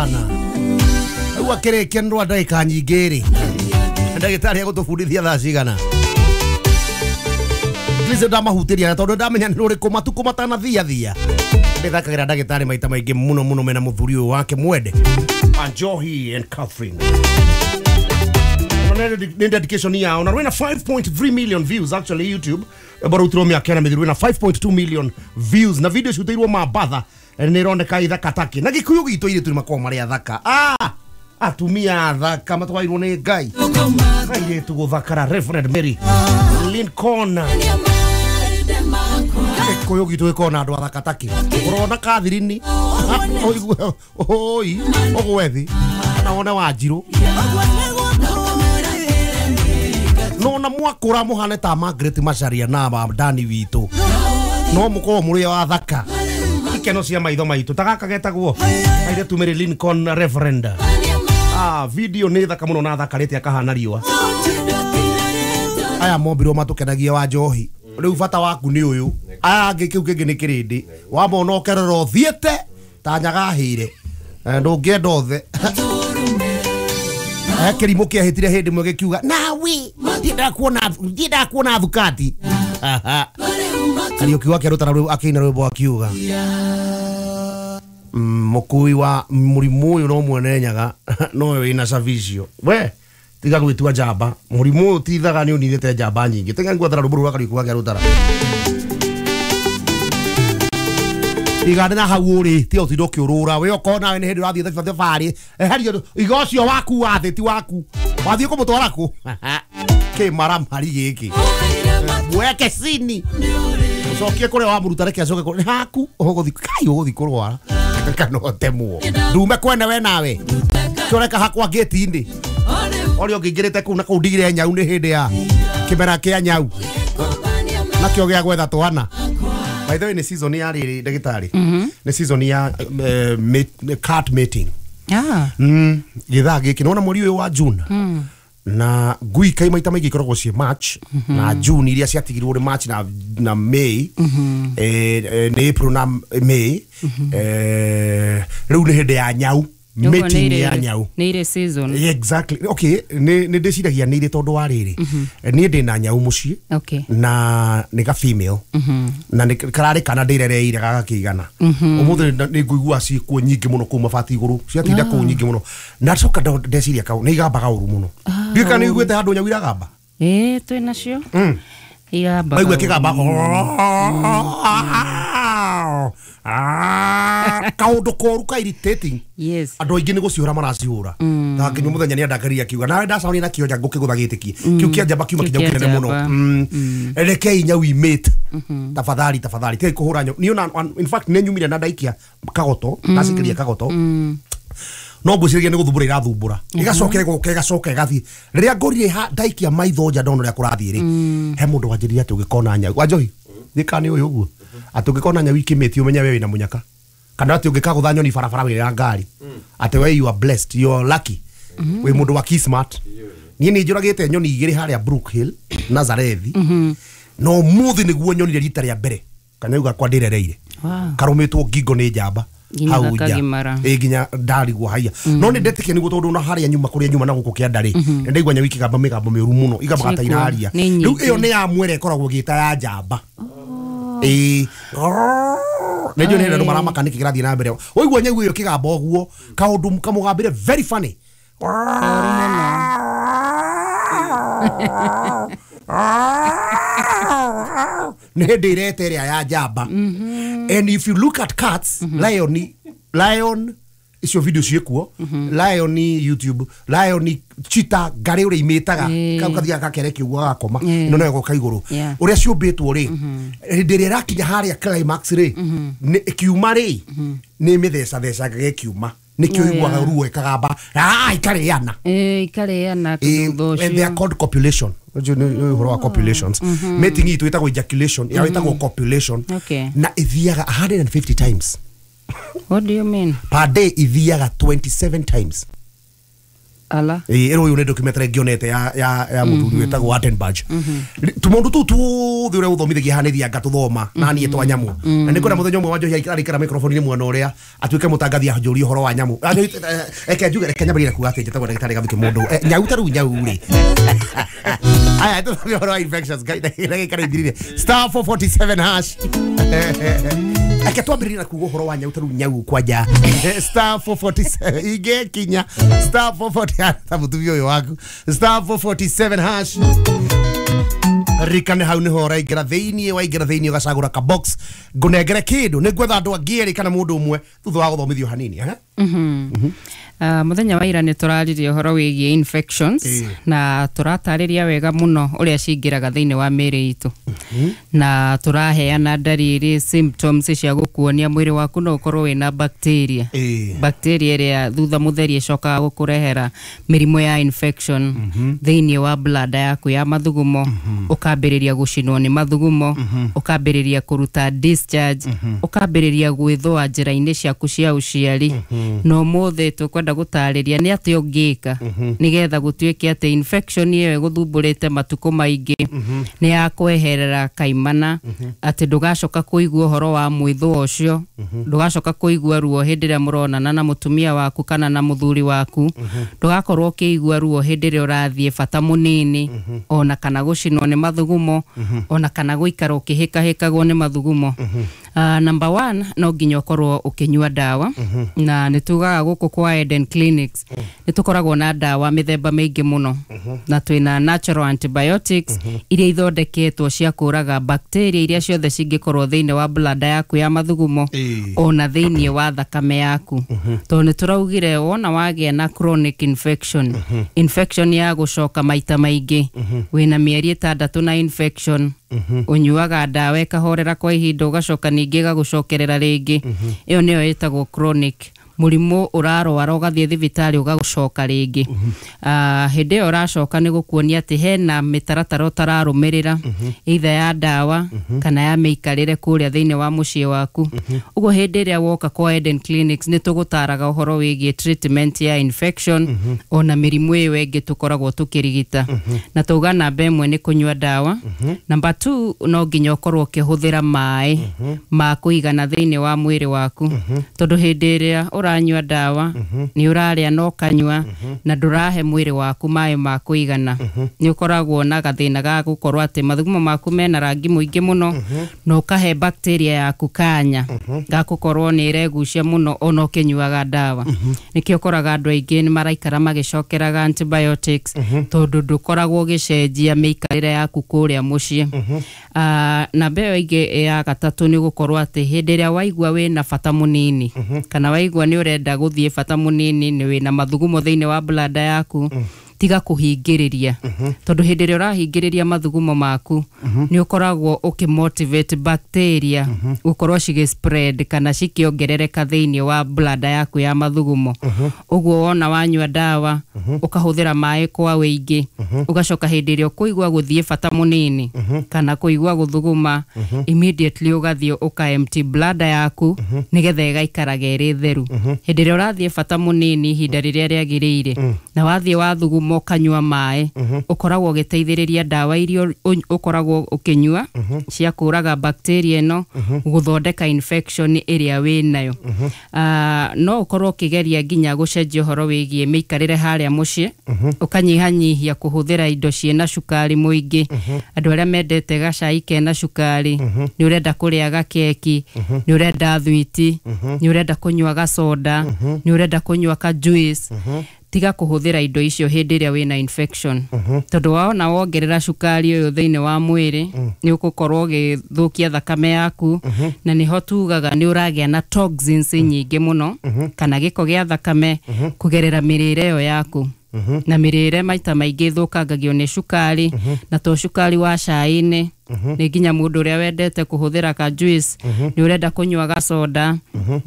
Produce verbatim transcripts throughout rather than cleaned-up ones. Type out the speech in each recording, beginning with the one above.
Rĩu akĩrĩkia nĩ rwa ndagĩka nyingĩ rĩ, ndagĩtarĩ egũtũbundithia thaa cigana? Please ndamahutĩria na tondũ ndamenya nĩ rũrĩkũ matukũ matanathiathia. Ndĩthakagĩra ndagĩtarĩ maita maingĩ mũno mũno mena mũthuri ũyũ wake mwende Anjohi and Catherine. Nĩ dedication yao na rwĩna five point three million views actually YouTube. Barutirwo mĩaka ĩna mĩthiru, rwĩna five point two million views na video ciutĩirwo Mambatha nĩ ironeka ithaka take na Gĩkũyũ gitũ irĩtu nĩ makoragwo marĩ athaka. Ah, atumia athaka matwairwo nĩ Ngai. Airĩtu gũthakara Reverend Mary Lincoln. Gĩkũyũ gitũ gĩkoragwo na andũ athaka take. Ũrona Catherine ũigue oi ũgwe thĩ kana wone Wanjirũ. No na mwakũra mũhane ta Margaret Macharia na Dani witũ. No mũkorwo mũrĩ athaka. Ikeno cia maitho maitũ ta gaka getagwo airĩtu Mary Lincoln Reverend. Ah, video nĩ thaka mũno na thakarĩte akahana riũa. Aya mombirwo matũkenagia wa njohi. Rĩu bata waku nĩ ũyũ. Aya angĩ kĩu kĩngĩ nĩ kĩrĩndĩ. Wamona ũkerora ũthiĩte ta nyagahĩire. Ndũngĩenda othe. Eh, kĩrimũ kĩahĩtire hĩndĩ ĩmwe gĩkiuga nawe ndiendaga kuona ndiendaga kuona thukati. Kariũki wake arutana rwĩmbo akĩina rwĩmbo akiuga mũkui wa mũrimũ ũyũ no mwene Nyaga no wĩna cabicio. We tiga gwĩtua njamba, mũrimũ ũyũ tithaga nĩ ũninĩte njamba nyingĩ. Tiga ngwethera rwĩmbo rũu rwa Kariũki wake arutana. Igande na hau ũrĩ tiga ũtinde ũkĩũrũra we okorwo nawe nĩ hĩndĩ ũrathiĩ thabarĩ eheria iga ũcio waku wa thĩ ti waku wathiĩ kũmũtwara kũ kĩmaramari gĩkĩ mweke cini ũcokie kũrĩa wamũruta reke acoke kũrĩa nĩ haku ũgũthiĩ kai ũgũthiĩ kũrwara kana ũtemwo ndume kwene we nawe kĩoreka hakwa gate-inĩ ũrĩa ũngĩingĩrĩte kũu na kũu ndigire nyau nĩ hĩndĩ ya kĩmera kĩa nyau nakĩo gĩa gwetha twana. By the way, ni season ya rĩrĩ ndagĩtarĩ nĩ season ya cat mating. Ah. Mm, gĩthaa gĩkĩ nĩwona mweri ũyũ wa June na ngui kai maita maingĩ ikoragwo ciĩ March na June iria ciatigirwo nĩ March na na May eh nĩ April na May eh rĩu nĩ hĩndĩ ya nyau mating ya nyau nĩ irĩ season. Exactly. Okay, nĩ nĩ ndĩciragia nĩ irĩ tondũ wa rĩrĩ niĩ ndĩ na nyau mũciĩ na nĩ ga female na nĩ kararĩ kana ndĩrereire gagakĩigana ũmũthĩ nĩ ngũigua ciĩkuo nyingĩ mũno kũu mabati igũrũ ciatinda kũu nyingĩ mũno na coka ndeciria kau nĩ igambaga ũru mũno. Ndiũĩ kana nĩ ũiguĩte handũ nyau iragamba. Ĩĩ twĩ nacio igambaga. Waigua ĩkĩgamba kaũndũ koru ka irritating. Yes. Andũ aingĩ nĩ gũciũra maracihũra. Ta nginya mũthenya nĩ andakarire akiuga nawe ndacamania na kĩonja ngũkĩgũtha gĩtĩki kĩu kĩa njamba kiuma kĩnyau kĩnene mũno. Rekei nyau imate tafadhali tafadhali tigai kũhũra nyau. Niĩ ona in fact nĩ nyumire na ndaikia kagoto ndacikĩria kagoto no ngwĩciragia nĩ gũthumbũra irathumbũra ĩgacoka ĩgoka ĩgacoka ĩgathiĩ. Rĩrĩa ngorire ndaikia maitho nja ndona ũrĩa kũrathiĩ rĩ he mũndũ wanjĩrire atĩ ũngĩkona nyau Wanjohi gĩka nĩ ũyũ ũguo atĩ ũngĩkona nyau ikĩmĩti ũmenye we wĩna mũnyaka kana atĩ ũngĩkagũtha nyoni barabara wĩna ngari atĩ we you are blessed, you are lucky, wĩ mũndũ wa kismat. Niĩ nĩ njũragĩte nyoni igĩrĩ harĩa Brookhill Nazarethi no mũthĩ nĩguo nyonire rita rĩa mbere kanyau gakwa ndĩrereire karũmĩtwo ngingo nĩ njamba hau nja ĩ nginya ndarigwo haiya no nĩ ndetĩkia nĩguo tondũ ona harĩa nyuma kũrĩa nyuma na gũkũ kĩanda rĩ nĩ ndaigua nyau ikĩgamba mĩgambo mĩũru mũno igambaga ta iraria. Rĩu ĩyo nĩ ya mwere ĩkoragwo ĩgĩta ya njamba. Ĩĩ nĩ njũĩ nĩ andũ maramaka nĩkĩ kĩrathiĩ na mbere. Waigua nyau ĩyo ĩkĩgamba ũguo kaũndũ kamũgambĩre very funny. Nĩ hĩndĩ ĩreta ĩrĩa ya njamba. And if you look at cats, lion, lion icio video ciĩkuo lion YouTube, lion cheetah ngarĩ ũrĩa imĩtaga kau kathiaga gakereke ũguo gagakoma ĩno nayo ĩgoka igũrũ ũrĩa ciũmbĩtwo rĩ hĩndĩ ĩrĩa ĩrakinya harĩa climax rĩ ĩkiuma rĩ nĩ mĩthecathecaga ĩkiuma nĩkĩo iguaga ruo ĩkagamba ah ikarĩana ĩĩ ikarĩana thutha ũcio. And they are called copulation. Ũcio nĩ ũhoro wa copulations. Mating itũ ĩtagwo ejaculation yao ĩtagwo copulation na ĩthiaga a hundred and fifty times. What do you mean? Per day ithiaga twenty-seven times. Ala. Ĩ ĩrwo ũyũ nĩ documentary ngĩonete ya ya ya mũthuri wĩtagwo Attenborough. Tũmaũndũ tũu tuothe ũrĩa ũthomithagia haha nĩ thianga tũthoma na niĩ twa nyamũ. Na nĩ kwenda mũthenya ũmwe Wanjohi arĩikara microphone-inĩ mwena ũrĩa atuĩke mũtangathi anjũrie ũhoro wa nyamũ. Reke njuge, reke nyambĩrĩrie kuga atĩ njĩtagwo ndagĩtarĩ Gathukĩ mũndũ. Nyau ta rĩu nyau rĩ. Aya, tũthome ũhoro wa infections ndagĩka nĩ ithirire. Star four forty-seven hash. Reke twambĩrĩrie na kuga ũhoro wa nyau ta rĩu nyau kwanja. Star four forty-seven ingĩkinya star four forty ta mũtumia ũyũ waku. Star four forty-seven hash. Rikane hau niho ũraingĩra thĩiniĩ, waingĩra thĩiniĩ ũgacagũra ka box ngũnengere kĩndũ nĩ ngwetha andũ angĩ erĩ kana mũndũ ũmwe thutha wa gũthomithio hanini. Eh? Mm-hmm. Uh, muthenya wa ira nĩ tũraririe ũhoro wĩgiĩ infections e. na tũratarĩria wega mũno ũrĩa cingĩraga thĩinĩ wa mĩĩrĩ itũ. Mm-hmm. Na tũraheana ndariri symptoms cia gũkuonia mwĩrĩ waku no ũkorwo wĩna bacteria e. Bacteria ĩrĩa thutha mũtheri ĩcokaga gũkũrehera mĩrimũ ya infection mm-hmm. thĩinĩ wa bladder yaku ya mathugumo, mm-hmm. ũkambĩrĩria gũcinwo nĩ mathugumo, mm-hmm. ũkambĩrĩria kũruta discharge, mm-hmm. ũkambĩrĩria gwĩthũa njĩra-inĩ ciaku cia ũciari. mm-hmm. No mũthĩ tũkwenda gũtarĩria nĩ atĩ ũngĩka mm-hmm. nĩgetha gũtuĩke atĩ infection ĩyo ĩgũthumbũrĩte matukũ maingĩ mm-hmm. nĩ yakweherera kaimana, mm-hmm. atĩ ndũgacoka kũigua ũhoro wa mwĩthũa ũcio, mm-hmm. ndũgacoka kũigua ruo hĩndĩ ĩrĩa mũronana na mũtumia waku kana na mũthuri waku, mm-hmm. ndũgakorwo ũkĩigua ruo hĩndĩ ĩrĩa ũrathiĩ bata mũnini, mm-hmm. ona kana gũcinwo nĩ mathugumo, mm-hmm. ona kana gũikara ũkĩhĩkahĩkagwo nĩ mathugumo. mm-hmm. Uh, number one, no nginya ũkorwo ũkĩnyua ndawa, mm-hmm. na nĩ tugaga gũkũ kwa Eden Clinics mm-hmm. nĩ tũkoragwo na ndawa mĩthemba mĩingĩ mũno, mm-hmm. na twĩna natural antibiotics mm-hmm. iria ithondeketwo cia kũraga bacteria iria ciothe cingĩkorwo thĩinĩ wa bladder yaku ya mathugumo e. ona thĩinĩ wa thakame yaku. mm-hmm. Tondũ nĩ tũraugire wona wagĩa na chronic infection, mm-hmm. infection ya gũcoka maita maingĩ, mm-hmm. wĩna mĩeri ĩtandatũ na infection, mm-hmm. ũnyuaga ndawa ĩkahorera kwa ihinda ũgacoka ningĩ ĩgagũcokerera rĩngĩ, mm-hmm. ĩyo nĩyo ĩtagwo chronic mũrimũ ũrarwara ũgathiĩ thibitarĩ ũgagũcoka rĩngĩ. mm-hmm. Uh, hĩndĩ ĩyo ũracoka nĩ gũkuonia atĩ hena mĩtaratara ũtararũmĩrĩra, mm-hmm. either ya ndawa, mm-hmm. kana ya mĩikarĩre kũrĩa thĩinĩ wa mũciĩ waku. mm-hmm. Ũguo hĩndĩ ĩrĩa woka kwa Eden Clinics nĩ tũgũtaraga ũhoro wĩgiĩ treatment ya infection, mm-hmm. ona mĩrimũ ĩyo ĩngĩ tũkoragwo tũkĩrigita. mm-hmm. Na tauga namba ĩmwe nĩ kũnyua ndawa, mm-hmm. namba two no nginya ũkorwo ũkĩhũthĩra maĩ mm-hmm. ma kũigana thĩinĩ wa mwĩrĩ waku, mm-hmm. tondũ hĩndĩ ĩrĩa ũranyua ndawa mm-hmm. nĩ ũrarĩa na ũkanyua, mm-hmm. na ndũrahe mwĩrĩ waku maĩ ma kũigana, mm-hmm. nĩ ũkoragwo na gathĩna ga gũkorwo atĩ mathugumo maku mena rangi mũingĩ mũno, mm-hmm. na ũkahe bacteria yaku kanya mm-hmm. ga gũkorwo nĩ ĩregucia mũno ona ũkĩnyuaga ndawa. mm-hmm. Nĩkĩo ũkoraga andũ aingĩ nĩ maraikara magĩcokeraga antibiotics, mm-hmm. tondũ ndũkoragwo ũgĩcenjia mĩikarĩre yaku kũrĩa mũciĩ. mm-hmm. Uh, namba ĩyo ĩngĩ ya gatatũ nĩ gũkorwo atĩ hĩndĩ ĩrĩa waigua wĩna bata mũnini, mm-hmm. kana waigua nĩ ũrenda gũthiĩ bata mũnini nĩ wĩna mathugumo thĩinĩ wa bladder yaku, mm. tiga kũhingĩrĩria, mm-hmm. tondũ hĩndĩ ĩrĩa ũrahingĩrĩria mathugumo maku, mm-hmm. nĩ ũkoragwo ũkĩmotivate bacteria mm-hmm. gũkorwo cigĩ spread kana cikĩongerereka thĩinĩ wa bladder yaku ya mathugumo. mm-hmm. Ũguo wona wanyua ndawa, mm-hmm. ũkahũthĩra maĩ kwa wĩingĩ, mm-hmm. ũgacoka hĩndĩ ĩrĩa ũkũigua gũthiĩ bata mũnini, mm-hmm. kana kũigua gũthuguma, mm-hmm. immediately ũgathiĩ ũka empty bladder yaku, mm-hmm. nĩgetha ĩgaikaraga ĩrĩ theru. mm-hmm. Hĩndĩ ĩrĩa ũrathiĩ bata mũnini ihinda rĩrĩa rĩagĩrĩire, mm. na wathiĩ wathuguma ũkanyua maĩ, mm-hmm. ũkoragwo ũgĩteithĩrĩria ndawa iria ũkoragwo ũkĩnyua mm-hmm. cia kũraga bacteria ĩno mm-hmm. gũthondeka infection ĩrĩa wĩnayo. mm-hmm. Uh, no ũkorwo ũkĩgeria nginya gũcenjia ũhoro wĩgiĩ mĩikarĩre harĩa mũciĩ, mm-hmm. ũkanyihanyihia kũhũthĩra indo ciĩna cukari mũingĩ. mm-hmm. Andũ arĩa mendete gacai kena cukari, mm-hmm. nĩ ũrenda kũrĩa gakeki, mm-hmm. nĩ ũrenda thwiti, mm-hmm. nĩ ũrenda kũnyua gacoda, mm-hmm. nĩ ũrenda kũnyua ka juice, mm-hmm. tiga kũhũthĩra indo icio hĩndĩ ĩrĩa wĩna infection, mm-hmm. tondũ waona wongerera cukari ũyũ thĩinĩ wa mwĩrĩ, mm. nĩ ũgũkorwo ũgĩthũkia thakame yaku, mm-hmm. na nĩho tugaga nĩ ũragĩa na toxins nyingĩ mũno, mm-hmm. kana gĩko gĩa thakame mm-hmm. kũgerera mĩrĩre ĩyo yaku. mm-hmm. Na mĩrĩre maita maingĩ ĩthũkangagio nĩ cukari, mm-hmm. na to cukari wa cai-inĩ, Nĩ nginya mũndũ ũrĩa wendete kũhũthĩra ka juice, nĩ ũrenda kũnyua gacoda,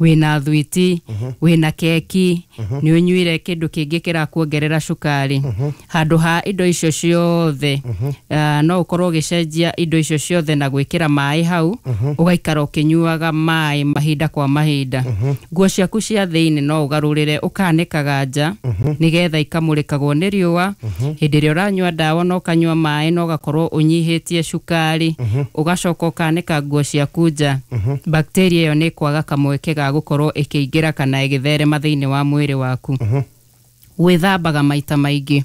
wĩna thwiti, wĩna keki, nĩ ũnyuire kĩndũ kĩngĩ kĩrakuongerera cukari, handũ ha indo icio ciothe, ah, no ũkorwo ũgĩcenjia indo icio ciothe na gwĩkĩra maĩ hau, ũgaikara ũkĩnyuaga maĩ mahinda kwa mahinda. Nguo ciaku cia thĩinĩ no ũgarũrĩre, ũkanĩkaga nja nĩgetha ikamũrĩkagwo nĩ riũa. Hĩndĩ ĩrĩa ũranyua ndawa na ũkanyua maĩ na ũgakorwo ũnyihĩtie cukari, ũgacoka ũkanĩka nguo ciaku nja, bacteria ĩyo nĩ kwaga kamweke ga gũkorwo ĩkĩingĩra kana ĩgĩtherema thĩinĩ wa mwĩrĩ waku. Gwĩthambaga maita maingĩ,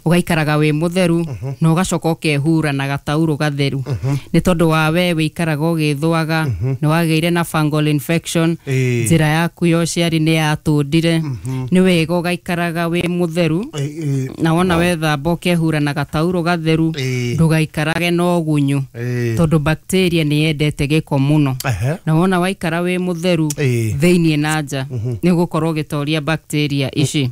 ũgaikaraga wĩ mũtheru, na ũgacoka ũkehura na gataurũ gatheru, nĩ tondũ wa we wĩikaraga ũgĩthũaga, nĩ wagĩire na fungal infection, Ĩĩ. njĩra yaku ya ũciari nĩ yatũndire. Nĩ wega ũgaikaraga wĩ mũtheru, Ĩĩ, na wona wethamba ũkehura na gataurũ gatheru, Ĩĩ. ndũgaikarage na ũgunyu, Ĩĩ. tondũ bacteria nĩ yendete gĩko mũno. Ehe. Na wona waikara wĩ mũtheru Ĩĩ. thĩiniĩ na nja, nĩ ũgũkorwo ũgĩtoria bacteria ici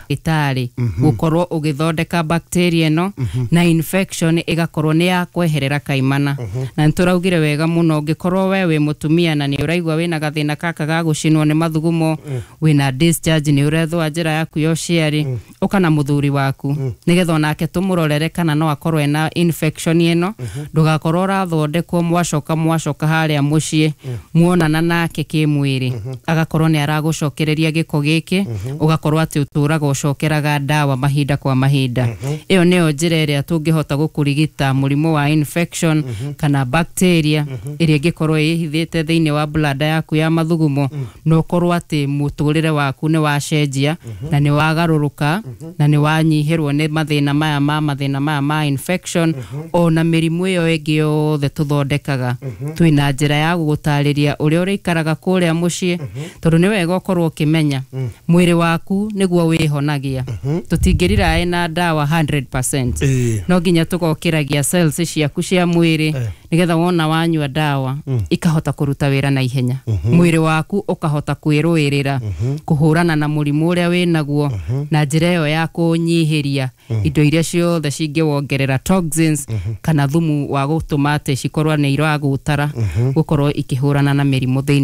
itarĩ gũkorwo ũgĩthondeka bacteria ĩno, na infection ĩgakorwo nĩ yakweherera kaimana. Na nĩ tũraugire wega mũno, ũngĩkorwo we wĩ mũtumia na nĩ ũraigua wĩna gathĩna gaka ga gũcinwo nĩ mathugumo, wĩna discharge, nĩ ũrethũa njĩra yaku ya ũciari, ũka na mũthuri waku nĩgetha onake tũmũrorere kana no akorwo ena infection ĩno. Ndũgakorwo ũrathondekwo, mwacoka mwacoka harĩa mũciĩ, muonana nake kĩmwĩrĩ, agakorwo nĩ aragũcokereria gĩko gĩkĩ, ũgakorwo atĩ ũtũraga ũcokeraga ndawa mahinda kwa mahinda. Ĩyo nĩyo njĩra ĩrĩa tũngĩhota gũkũrigita mũrimũ wa infection kana bacteria ĩrĩa ĩngĩkorwo ĩhithĩte thĩinĩ wa bladder yaku ya mathugumo, na ũkorwo atĩ mũtũrĩre waku nĩ wacenjia na nĩ wagarũrũka na nĩ wanyihĩrwo nĩ mathĩna maya ma mathĩna maya ma infection, ona mĩrimũ ĩyo ĩngĩ yothe tũthondekaga. Twĩna njĩra ya gũgũtarĩria ũrĩa ũrĩikaraga kũrĩa mũciĩ, tondũ nĩ wega ũkorwo ũkĩmenya mwĩrĩ waku nĩguo wĩhonagia. Tũtingĩriraĩ na ndawa hundred percent. Ĩĩ. No nginya tũgokĩragia cells ciaku cia mwĩrĩ, nĩgetha wona wanyua ndawa ikahota kũruta wĩra na ihenya, mwĩrĩ waku ũkahota kwĩrũĩrĩra kũhũrana na mũrimũ ũrĩa wĩnaguo, na njĩra ĩyo ya kũnyihĩria indo iria ciothe cingĩwongerera toxins kana thumu wa gũtũma atĩ cikorwo nĩ iragũtara gũkorwo ikĩhũrana na mĩrimũ thĩinĩ.